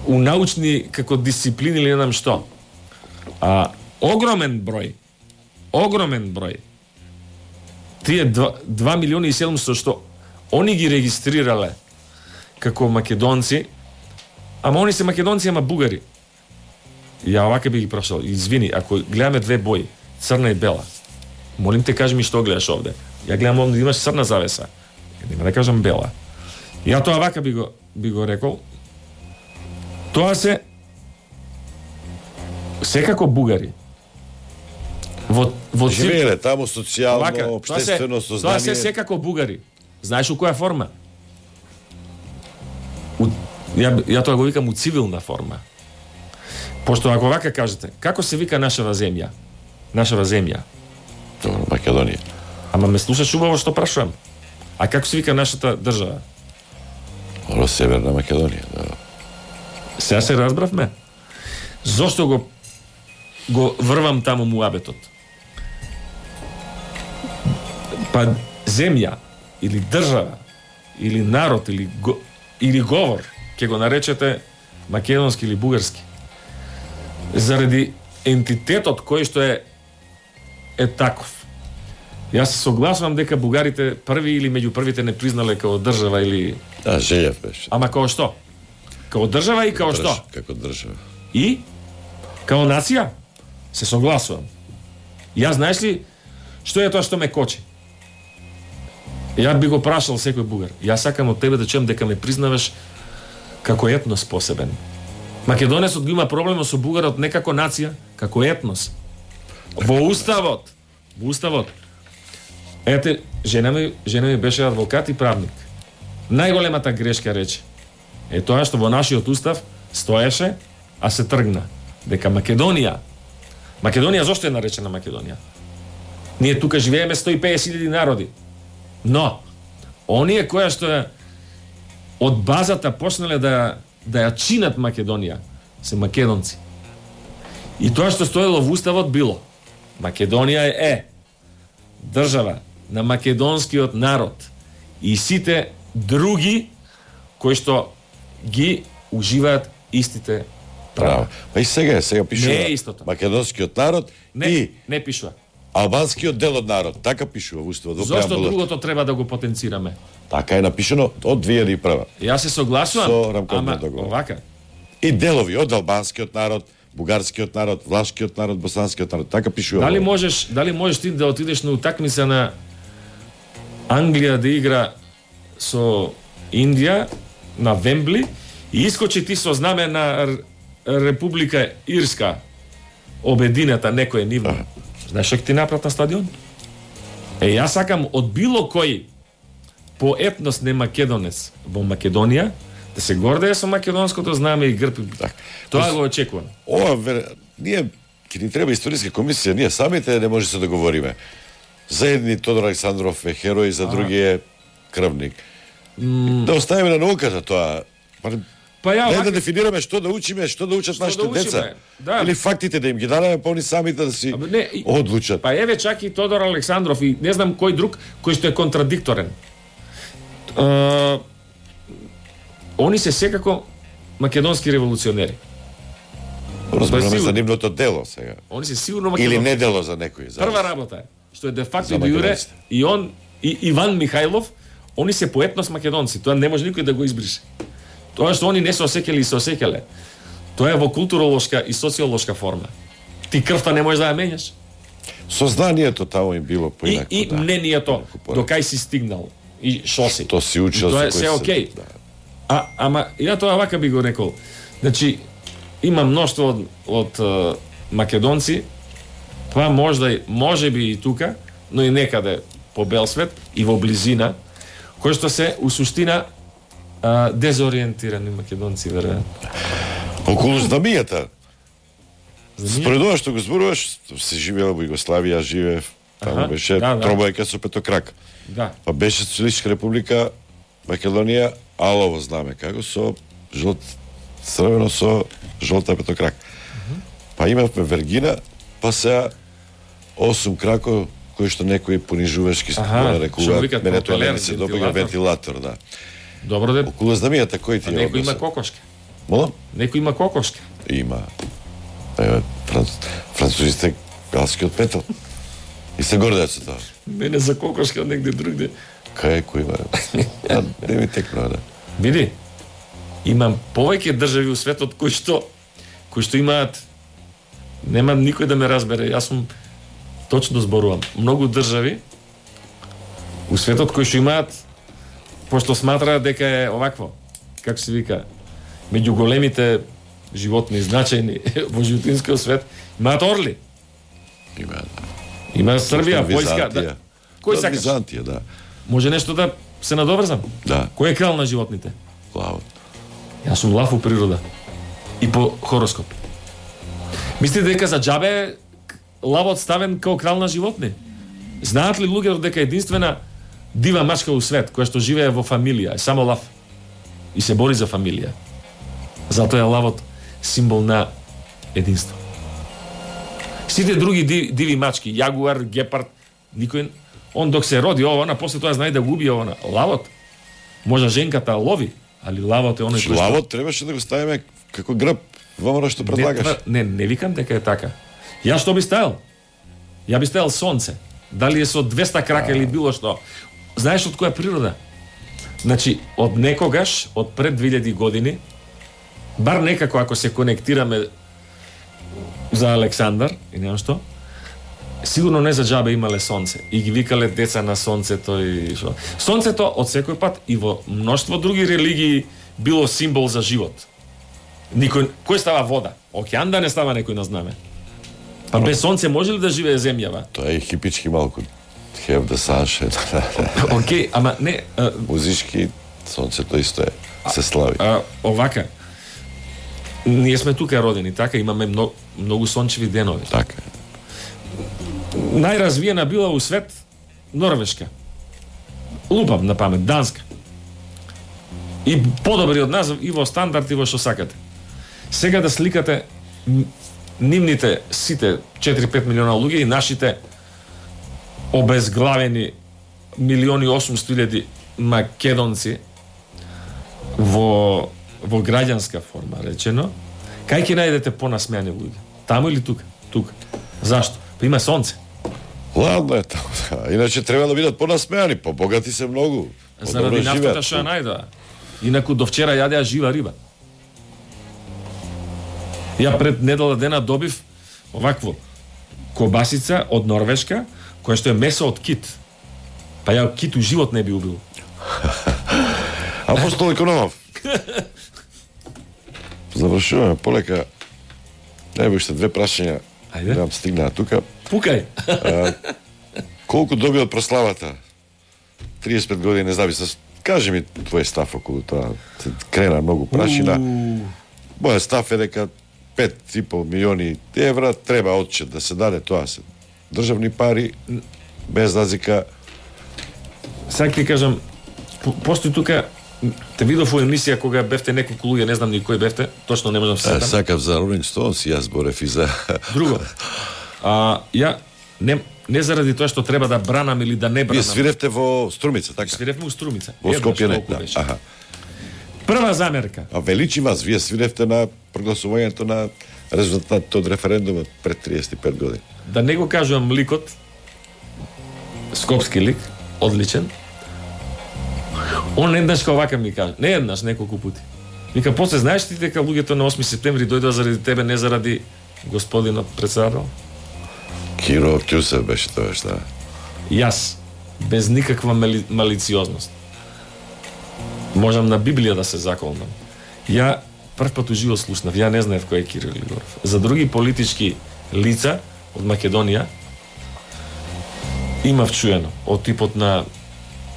у научни како дисциплини или не знам што. А огромен број, огромен број, тие два милиони и седумстотини што они ги регистрирале како македонци, ама они се македонци, ама бугари. Ја овака би ги прошал. Извини, ако гледаме две бои, црна и бела, молим те, кажи ми што гледаш овде. Ја гледам овде, имаш црна завеса. Нема да кажам бела. Ја тоа овака би го, би го рекол. Тоа се секако бугари. Во, во живееле таму социјално, овака, општествено сознание. Тоа се секако бугари. Знаеш у која форма? У, ја, ја тоа го викам у цивилна форма. Пошто ако вака кажете, како се вика нашава земја? Нашава земја. Добро, Македонија. Ама ме слушаш убаво што прашувам. А како се вика нашата држава? Оро Северна Македонија, да. Сега се разбравме. Зошто го го врвам таму муабетот? Па земја или држава или народ или го, или говор ќе го наречете македонски или бугарски. Заради ентитетот кој што е е таков. Јас се согласувам дека бугарите први или меѓу првите не признале како држава или Да, Желев беше. Ама како што? Како држава и како Држ, што? Како држава. И како нација се согласувам. Јас знаеш ли што е тоа што ме кочи? Ја би го прашал секој бугар. Јас сакам од тебе да чуам дека ме признаваш како етнос посебен. Македонецот го има проблем со бугарот не како нација, како етнос. Во уставот, во уставот. Ете, жена ми, жена ми беше адвокат и правник. Најголемата грешка рече е тоа што во нашиот устав стоеше, а се тргна. Дека Македонија, Македонија зошто е наречена Македонија? Ние тука живееме сто и песет илјади народи. Но, оние која што е од базата почнале да, да ја чинат Македонија, се македонци. И тоа што стоело во уставот било, Македонија е држава на македонскиот народ и сите други кои што ги уживаат истите права. Па и сега, сега пишува Не е истото. македонскиот народ Не, и не пишува. албанскиот дел од народ. Така пишува во уставот. во Зошто преамбулата. другото треба да го потенцираме? Така е напишано од две илјади и прва. Јас се согласувам, Со рамковниот ама договор. овака. И делови од албанскиот народ, бугарскиот народ, влашкиот народ, босанскиот народ. Така пишува. Дали во- можеш, дали можеш ти да отидеш на утакмица на Англија да игра со Индија на Вембли и искочи ти со знаме на Р- Република Ирска, обедината некој нивно. Знаеш што ќе ти направат на стадион? Е, јас сакам од било кој по етнос не македонец во Македонија да се гордее со македонското знаме и грб. Тоа го очекувам. Ова вер... ние ќе ни треба историска комисија, ние самите не може се договориме. За едни Тодор Александров е херој, за други е крвник. Да оставиме на науката тоа. Па, Па ја не овака- да дефинираме што да учиме, што да учат нашите да учиме, деца. да. Или фактите да им ги дадеме, па они самите да си Абе, не, и- одлучат. Па еве чак и Тодор Александров и не знам кој друг кој што е контрадикторен. Uh, они се секако македонски револуционери. Разбираме сигурно. за нивното дело сега. Они се сигурно Или македонски. не дело за некој. За... Прва работа е што е де факто За и де јуре македонците. и он и Иван Михајлов, они се по етнос македонци. Тоа не може никој да го избрише. Тоа што они не се осеќале и се осеќале. Тоа е во културолошка и социолошка форма. Ти крвта не можеш да ја менјаш. Сознанието таму им било И, поинако. и да. мнението, Поинако. до кај си стигнал и шо си. То си учил И тоа е со кој се се- окей. да. А, ама, ја тоа вака би го рекол. Значи, има мноштво од, од е, македонци, па можда, и- може би и тука, но и некаде по бел свет и во близина, кои што се, у суштина, а, дезориентирани македонци, веројатно. Околу знамијата. Знамијата? Според ова што го зборуваш, се живеел во Југославија, живеев, таму Аха, беше да, да. тромбајка со петокрак. Да. Па беше Социјалистичка република Македонија, алово знаме како со жолт црвено со жолта петокрак. Па имавме Вергина, па сега осум крако кои што некои понижувачки Аха, го што нарекуваат, викаат мене тоа пропелер, не се добива вентилатор. вентилатор, да. Добро де, Околу знамијата кој ти а е некој има односот? кокошка. Молам? Некој има кокошка. Има. Еве, франц... французите галскиот петел. И се гордеат со тоа. Мене за кокошка негде другде. Кај кој има? А, не ми текна, да. Види, имам повеќе држави у светот кои што кои што имаат, нема никој да ме разбере, јас сум точно зборувам. Многу држави у светот кои што имаат, пошто сматраат дека е овакво, како се вика, меѓу големите животни значајни во животинскиот свет, имаат орли. Има, да. Има Србија, Византија. Појска, да. Кој Да, сакаш? Византија, да. Може нешто да се надоврзам? Да, Кој е крал на животните? лавот. Јас сум лав у природа. И по хороскоп. Мислите дека за џабе лавот ставен како крал на животни? Знаат ли луѓето дека единствена дива мачка у свет, која што живее во фамилија, е само лав и се бори за фамилија. Затоа е лавот символ на единство. Сите други диви, диви мачки, јагуар, гепард, никој, он док се роди ова, после тоа знае да го убие ова. Лавот, може женката лови, али лавот е оној кој што... Лавот требаше да го ставиме како грб во оно што предлагаш. Не, не, не викам дека е така. Ја што би ставил? Ја би ставил сонце. Дали е со двеста крака или било што. Знаеш од која природа? Значи, од некогаш, од пред две илјади години, бар некако ако се конектираме за Александар и немам што, сигурно не за џабе имале сонце и ги викале деца на сонцето и што. Сонцето од секој пат и во мноштво други религии било символ за живот. Никој, кој става вода? Океан да не става некој на знаме. Па без сонце може ли да живее земјава? Тоа е хипички малку. Have the sunshine. Океј, ама не... А... Музички, сонцето исто е. Се слави. А, овака. Ние сме тука родени, така, имаме многу, многу сончеви денови. Така. Најразвиена била у свет Норвешка. Лупам на памет, Данска. И подобри од нас и во стандард и во што сакате. Сега да сликате нивните сите четири-пет милиона луѓе и нашите обезглавени милиони осумсто илјади македонци во во граѓанска форма речено, кај ќе најдете понасмеани луѓе? Таму или тука? Тука. Зашто? Па има сонце. Ладно е таму. Иначе треба да бидат понасмеани, побогати се многу. Заради нафтата што ја најдоа. Инаку до вчера јадеа жива риба. Ја пред недела дена добив овакво кобасица од Норвешка, која што е месо од кит. Па ја кит у живот не би убил. Апостол Икономов. Завршуваме полека. Најбо уште две прашања. Ајде. Немам стигнаа тука. Пукај. А, колку доби од прославата? триесет и пет години независност. Кажи ми твој став околу тоа. Се крена многу прашина. Мојот став е дека пет и пол милиони евра треба одчет да се даде, тоа се државни пари, без разлика. Сега ти кажам, постои тука, те видов во емисија кога бевте неколку луѓе, не знам ни кој бевте, точно не можам се сетам. Сакав за Rolling Stones и јас борев и за... Друго. А, ја, не, не заради тоа што треба да бранам или да не бранам. Вие свиревте во Струмица, така? Свиревме во Струмица. Во Скопје не, да. Аха. Прва замерка. А величи вас, вие свиревте на прогласувањето на резултатот од референдумот пред триесет и пет години. Да не го кажувам ликот, скопски лик, одличен. Он еднаш као вака ми кажа, не еднаш, неколку пути. Вика, после знаеш ти дека луѓето на осми септември дојдоа заради тебе, не заради господинот председател? Киро Кјусев беше тоа, шта? Јас, без никаква мали, малициозност. Можам на Библија да се заколнам. Ја прв пат уживо слушнав, ја не знаев кој е Кирил Григоров. За други политички лица од Македонија имав чуено од типот на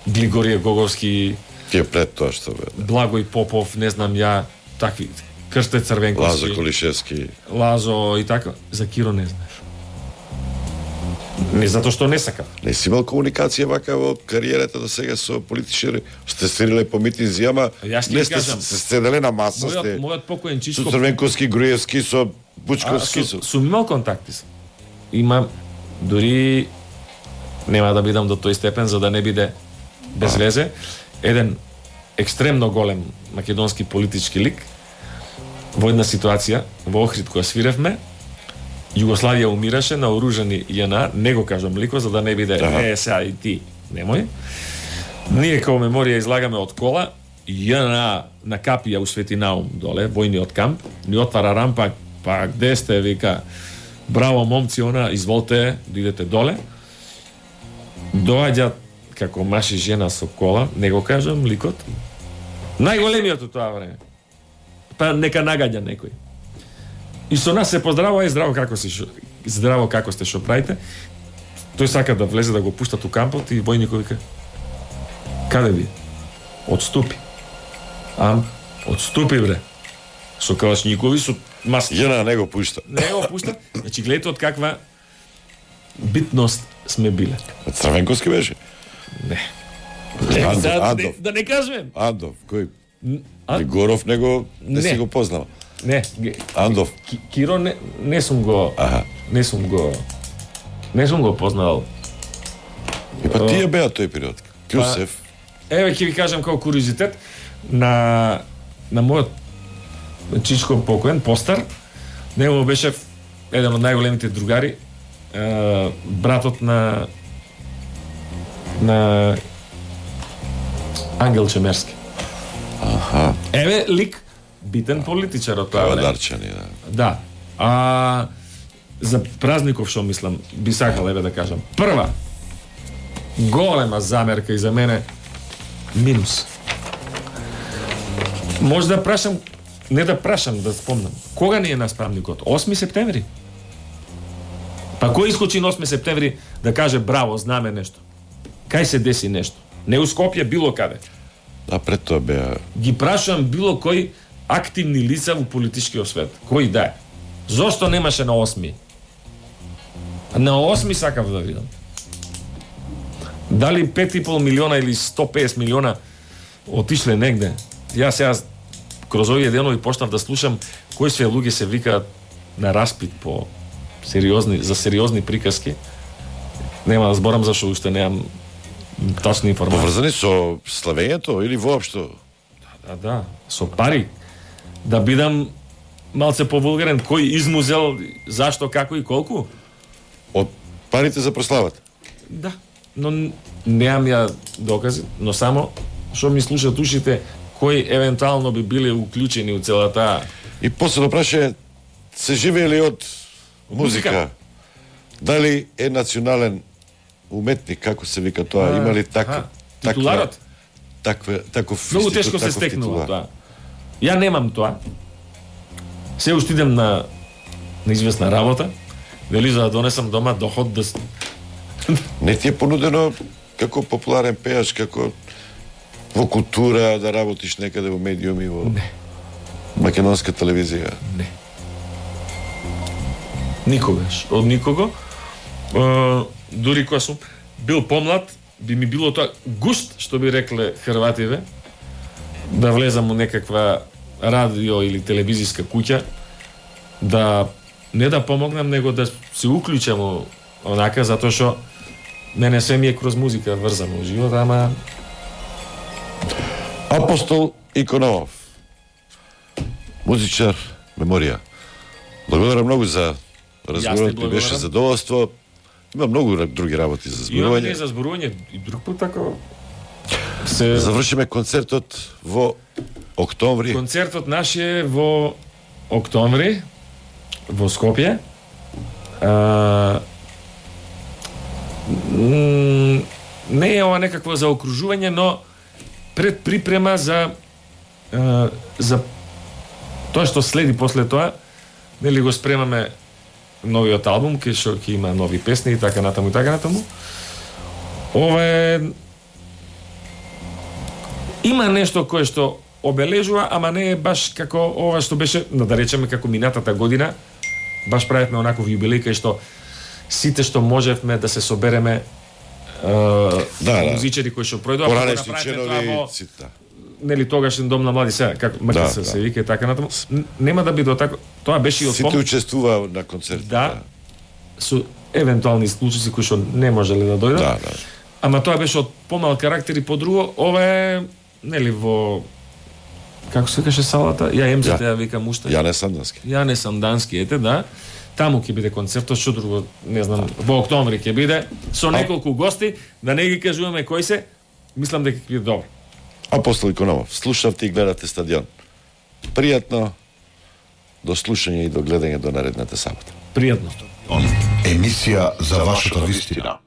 Глигорije Гоговски, Тие пред тоа што бе. Благој Попов, не знам ја, такви, Крсте Црвенковски, Лазо Колишевски. Лазо и така. За Киро не знаеш. Не затоа што не сакав. Не си имал комуникација вака во кариерата до сега со политичари? Сте свириле по митинзи, ама не сте се седеле на маса, мојот, сте мојот покоен Чичко... со Црвенковски, Груевски, со Бучковски. А, со, сум имал контакти. Имам, дури нема да бидам до тој степен за да не биде без а. везе. Еден екстремно голем македонски политички лик во една ситуација во Охрид која свиревме, Југославија умираше на оружени ЈНА, не го кажам лико за да не биде е сега и ти, немој. Ние као меморија излагаме од кола, ЈНА на капија у Свети Наум доле, војниот камп, ни отвара рампа, па где сте, вика, браво момци, она, изволте, идете доле. Доаѓа како маж и жена со кола, не го кажам ликот, најголемиот од тоа време. Па нека нагаѓа некој. И со нас се поздравува и здраво како си, здраво како сте, што правите. Тој сака да влезе да го пуштат у кампот и војникот вика: каде ви? Отступи. Ам, отступи бре. Со калашникови, со маски. Јена не го пушта. Не го пушта. Значи гледате од каква битност сме биле. Црвенковски беше? Не. Андов, да, Андов. Да, да не кажем. Андов, кој? А? Горов него не, Не. си го познал. Не. Андов. Ки- Киро не, не сум го Аха. не сум го не сум го познал. И па тие беа тој период. Кјусев. Еве ќе ви кажам како куриозитет на на мојот чичко покоен постар, него беше еден од најголемите другари, е, братот на на Ангел Чемерски. Аха. Еве лик битен политичар од тоа време. Кавадарчани, да. Да. А за празников што мислам, би сакал еве да кажам. Прва голема замерка и за мене минус. Може да прашам, не да прашам, да спомнам. Кога ни е нас празникот? осми септември. Па кој искочи на осми септември да каже браво, знаме нешто? Кај се деси нешто? Не у Скопје, било каде. А пред тоа беа Ги прашувам било кој активни лица во политичкиот свет. Кој да е? Зошто немаше на осми? На осми сакав да видам. Дали пет и пол милиона или сто и песет милиона отишле негде? Јас сега кроз овие денови почнав да слушам кои све луѓе се викаат на распит по сериозни за сериозни приказки. Нема да зборам зашто уште немам точни информации. поврзани со славењето или воопшто? Да, да, со пари. Да бидам малце повулгарен, кој измузел, зашто, како и колку? Од парите за прославата. Да, но н- немам ја докази, но само што ми слушат ушите, кои евентуално би биле уклучени у целата. И после да праше, се живеели од музика. Музика. Дали е национален уметник, како се вика тоа, има ли така? Аха, титуларот? Таква, таков Многу институт, тешко се таков стекнува титулар. тоа. Ја немам тоа. Се уште идем на на известна работа, дали за да донесам дома доход да с- Не ти е понудено како популарен пејач, како во култура да работиш некаде во медиуми, во Не. македонска телевизија. Не. Никогаш. Од никого. Е, дури кога сум бил помлад, би ми било тоа гушт, што би рекле хрвативе, да влезам у некаква радио или телевизиска куќа, да не да помогнам, него да се уклучам у- онака, затоа што мене се ми е кроз музика врзано во живот, ама Апостол Икономов, музичар, меморија. Благодарам многу за разговорот, ми благодарам. беше задоволство. Има многу ра- други работи за имам не зборување. за зборување и друг пат тако се Завршиме концертот во октомври. Концертот наш е во октомври во Скопје. А, м, не е ова некакво заокружување, но пред припрема за а, за тоа што следи после тоа, нели го спремаме новиот албум, кај што ќе има нови песни и така натаму и така натаму. Ова е има нешто кое што обележува, ама не е баш како ова што беше, no, да речеме како минатата година, баш правевме онаков јубилеј кај што сите што можевме да се собереме е, Да, да. музичари кои што пројдоа, Поранешни направивме членови, тоа во, сите, да. нели тогашен дом на млади сега, како мака Да, се, да. се вика и така натаму. Н- Нема да биде така, тоа беше и од Сите пом... учествува на концертот. да, со евентуални случаи кои што не можеле да дојдат. Да, да. Ама тоа беше од помал карактер и по-друго, ова е нели во како се каже салата? Ја емзете Ја. ја викам уште. Јане Сандански. Ја не сам дански, ете, да. Таму ќе биде концертот, што друго, не знам, во октомври ќе биде со неколку гости, да не ги кажуваме кои се. Мислам дека ќе биде добро. Апостол Икономов, слушавте и гледате Стадион. Пријатно, до слушање и до гледање до наредната сабота. Пријатно. Емисија за вашата вистина.